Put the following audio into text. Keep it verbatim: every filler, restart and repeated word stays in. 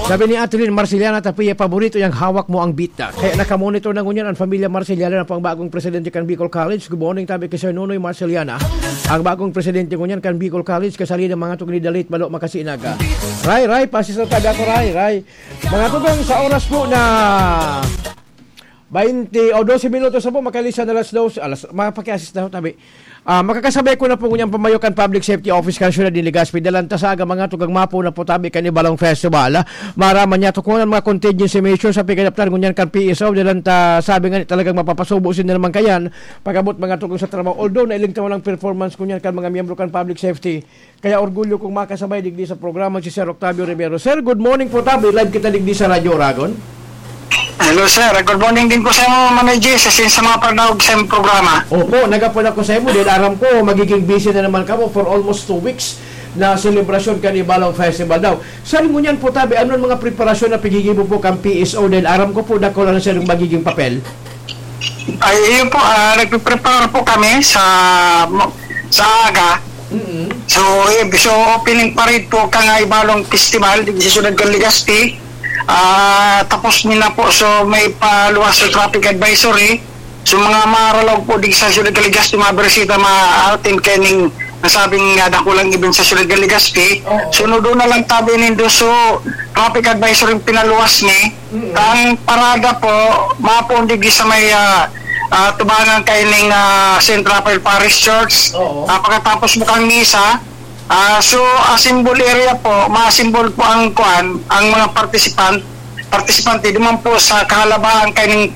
Sabi ni Atelyn Marceliana Tapia, paborito niyang hawak mo ang beat na. Kaya nakamonitor na ngunyan ang pamilya Marceliana na po ang bagong presidente kan Bicol College. Good morning, tabi kay Sir Nonoy Marceliana. Ang bagong presidente ngunyan kan Bicol College, kasali ng mga tugni dalit, malo makasinaga. Ray, Ray, pasis na tabi ako, Ray, Ray. Mga tugang sa oras po na baynte o dose minutos na po, makalisan na alas dose, alas, mapakiasis na ho, tabi. Ah, makakasabay ko na po ngunyan pamayo kan Public Safety Office kan Siyudad nin Legazpi. Dalan ta sa aga, mga tugang, mapo na po tabi kan Ibalong Festival. Maraman niya tukunan mga contingency measures sa pagkadaptar ngunyan kan P S O. Dalan ta sabi nga ni talagang mapapasubo sinda naman kayan pag-abot mga tugang sa trabaho. Although nailing ta walang performance ngunyan kan mga miyembro kan Public Safety. Kaya orgulyo kong makasabay digdi sa programa si Sir Octavio Rivero. Sir, good morning po tabi. Live kita digdi sa Radyo Oragon. Hello sir, good morning din po sa inyo, Manoy G, sa, sa mga panawag sa inyong programa. Opo, nagapon ako sa imo dahil aram ko magiging busy na naman kamo for almost two weeks na selebrasyon kan Ibalong Festival daw. Sir, ngunyan po tabi, ano ang mga preparasyon na pighigibo po kan P S O dahil aram ko po dakula na sir yung magiging papel? Ay, yun po, ah, nagpiprepare po kami sa sa aga. Mm-mm. So, eh, so opening parade po kan Ibalong Festival di sa Siyudad kan Legazpi. Ah, tapos ni na po, so may paluwas sa traffic advisory. So mga maralaw po di sa Siyudad kan Legazpi, mga bersita, ma-attend kaning nasabing uh, dakulang event sa Siyudad kan Legazpi. Oo. Sunod na lang tabi nindo, so traffic advisory yung pinaluwas ni. Mm. Ang parada po, mapundig sa may ah, ah, tubangan kaining ah, Saint Raphael Parish Church. Oo. Ah, pagkatapos po kang misa, ah, so, ah, symbol area po, ma-symbol po ang kuan, ang mga participant, participante, duman po sa kahalabaan kaining